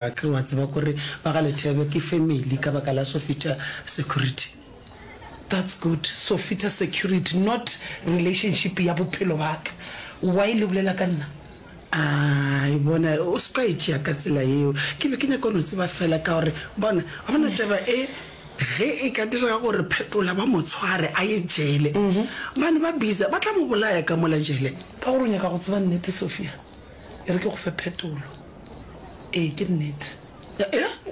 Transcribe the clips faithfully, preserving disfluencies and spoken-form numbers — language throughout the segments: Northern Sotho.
Ke wa tseba kore ba ga Lethebe ke family ka baka la Sofita security. That's good Sofita security not relationship ya bophelo baka why le bolela ka nna? Ai bona o se ka e tšea ka tsela yeo ke be ke nyaka go no tseba fela ka gore bona wa bona taba e ge e ka direga gore Phetola ba mo tshware a ye jele bane ba busy ba tla mo bolaya ka mola jele. Ka gore o nyaka go tseba nnete Sophia e re ke go fe phetolo. Ee, ke nnete.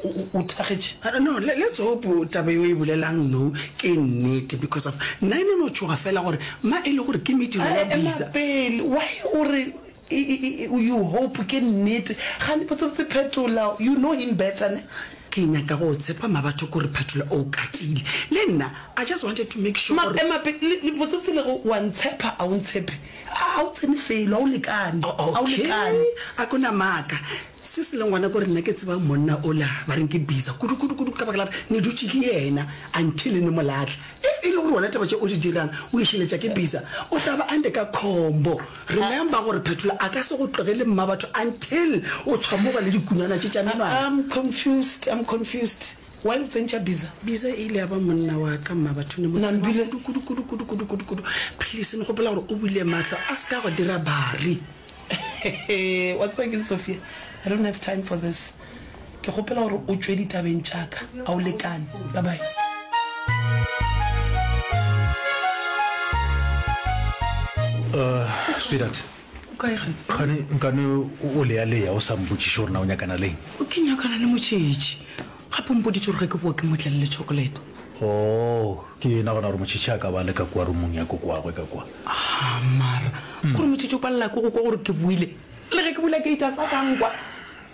O, o, o thakgetše. Uh, no, le, let's hope taba eo e bolelang no ke nnete because of nna e ne no tšhoga fela gore ma e le gore ke mediro ya Ema bisa. pele, why o re e, e, e, you hope ke nnete? Gane botsebotse Phetola, you know him better ne? Ke nyaka go tshepa mabatho kore Phetola o katile. Le nna I just wanted to make sure Ma, gore ema pele, le, le, botsebotse le go wa ntshepa, a o ntshepe? A, a o tsene felo, a o lekane, a o okay lekane. a kona maaka. Se se leng gona kore nna ke tseba monna ola ba reng ke Bisa kudu kudu kudu ka baka la gore ne dutše le yena until ne mo lahla. If e le gore wena taba tše o di dirang o išeletša ke Bisa, o tla ba ande ka khombo. Remember gore Phetola a ka se go tlogele mmabatho until o tshwamoga le dikunwana tše tša menwana. I'm confused, I'm confused. Why o tsentšha Bisa? Bisa e ile ya ba monna wa ka mmabatho ne mo tseba Nambile. kudu kudu kudu kudu kudu kudu kudu. Please ne gopola gore o buile mahlo a se ka go dira bari. Wa tseba keng Sophia, I don't have time for this. Ke kgopela gore o tšwe ditabeng tša ka. A o lekane. Bye bye. Uh, sweetheart. O kae gane? Gane nkane o lealea o sa mpotšiše gore na o nyakana leng? Ke nyakana le Motšhetši. Gape o mpoditše gore ge ke boa ke mo tlele le chocolate. Oh, ke yena gona gore Motšhetši a ka ba le ka kua rumong ya kokoagwe ka kua. Ah, mara kore Motšhetši o palela ke go kwa gore ke boile. Le ge ke bula gate a sa ka nkwa.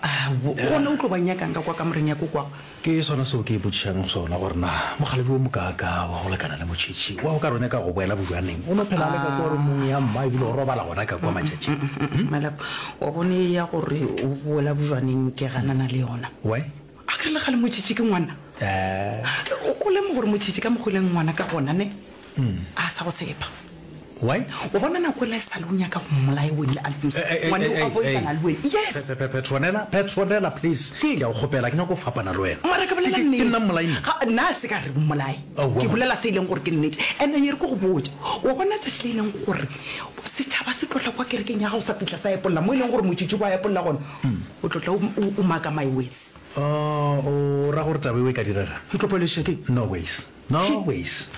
Ao, gona o tlo ba nyakang ka kwa kamoreng ya kokoagwe? Ke sona seo ke ipotšišang sona gore na mokgalabje wo mokaakaa wa go lekana le Motšhetši wa o ka re o nyaka go boela bojwaneng, o no phela a le ka kua rumong ya mma ebile o robala gona ka kua matšatšing. Malapa, wa bone ye ya gore o boela bojwaneng ke ganana le yona. Why? A ke re le kgale Motšhetši ke ngwana. Eh. O lemoge gore Motšhetši ka mokgwa o leng ngwana ka gona ne, a sa go tshepa. Why? Wa bona nako ela e sa le o nyaka go mmolaya wene le Alphonse, ngwane o a boifana le wene. Yes! Petronella, Petronella, please, ke a go kgopela, ke nyaka go fapana le wena. Mara ke bolela Ke, ke nnete. nna mmolai nna? Ga, nna a se ka re mmolai. Aowa, Ke man. bolela se e leng gore ke nnete. And-e e re ke go botše, wa bona tšatši le e leng gore setšhaba se tlo tla kwa kerekeng ya gago sa fihla sa epolla mo e leng gore motšitši wa epolla gona, o tlo tla o, o, o maka my words. Oh, o ra gore taba eo e ka direga? E tlo palediša ke eng? No ways. No ways.